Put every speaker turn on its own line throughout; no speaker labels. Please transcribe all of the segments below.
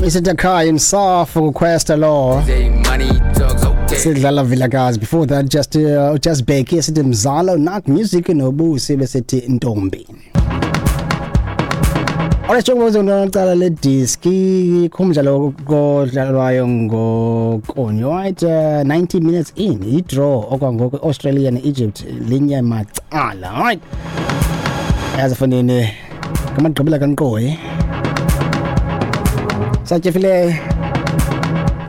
Mr. Kai himself request lo. Sidlala Vilakazi. Before that, just Becky sithi Mzalo, Nak Music noBusi besithi Ntombi. Alright, njengoba uzonqala le diski kumdlalo kodlalwayo ngokonyo, right, 90 minutes in, i-draw okwangoku, Australia ne-Egypt linye macala. Alright, yazi fondini ngamagqibela kankqoyi satyefile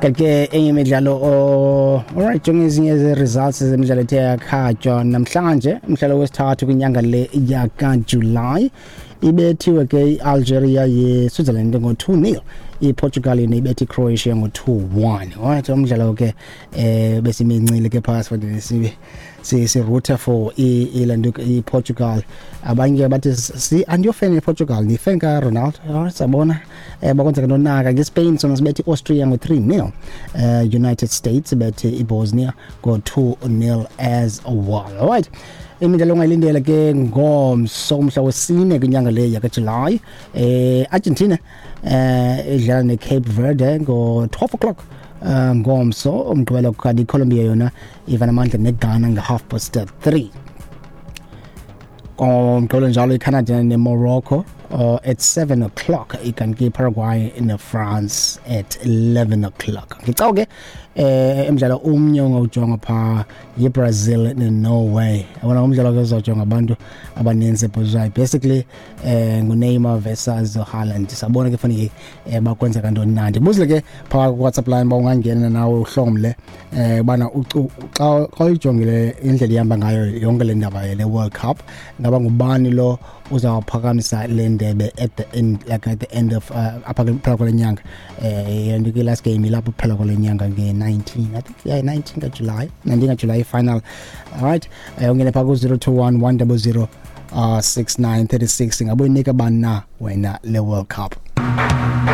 kanti ke enye imidlalo. Alright, jonge ezinye ze-results zemidlalo ethe yakhatywa namhlanje, umdlalo wesithathu kwinyanga le yakaJulayi. Ibethiwe ke i-Algeria ye-Switzerland ngo-2-0, iPortugal yona ibethe iCroatia ngo-2-1. Alright, umdlalo ke besimincile ke phakathi fondini, sibe si-roota for ilanto iPortugal. Abanye bathi si andiyofan yePortugal, ndiyifan kaRonaldo. Alright, sabona bakwenzeka nonaka. NgeSpain sona sibethe iAustria ngo-3-0, United States bethe iBosnia ngo-2-0 as well. Alright, imidlalo ongayilindela ke ngomso, umhla wesine kwinyanga le yakaJulayi, Argentina idlala neCape Verde ngo-12 o'clock ngomso umgqibelo, kanti iColombia yona iva namandla neGhana nge-3:30 ngomgqibelo. Njalo iCanada neMorocco at 7 o'clock, ikanti iParaguay neFrance at 11 o'clock. Ngicawu ke emidlalo umnye ongawujonga phaa yiBrazil neNorway. Yabona, umdlalo ke uzawujonga abantu abaninzi ebhozwayo, basically nguNeymar versus Haaland. Sabona ke fanele bakwenzeka ntoni na. Ndibuzile ke phaa ku-WhatsApp line uba ungangena nawe uhlomle ubana xa uyijongile indlela ihamba ngayo yonke le ndaba le World Cup, ngaba ngubani lo uzawuphakamisa le ndebe at the end, like at the end of apha ke kuphela kwale nyanga? Yonto ke last game ilapho kuphela kwale nyanga nge-19, I think, yeah, 19 kaJuly, 19 kaJuly final. Alright, ungene phaa ku-021 100 6936. Ngabe uyinika bani na wena le World Cup?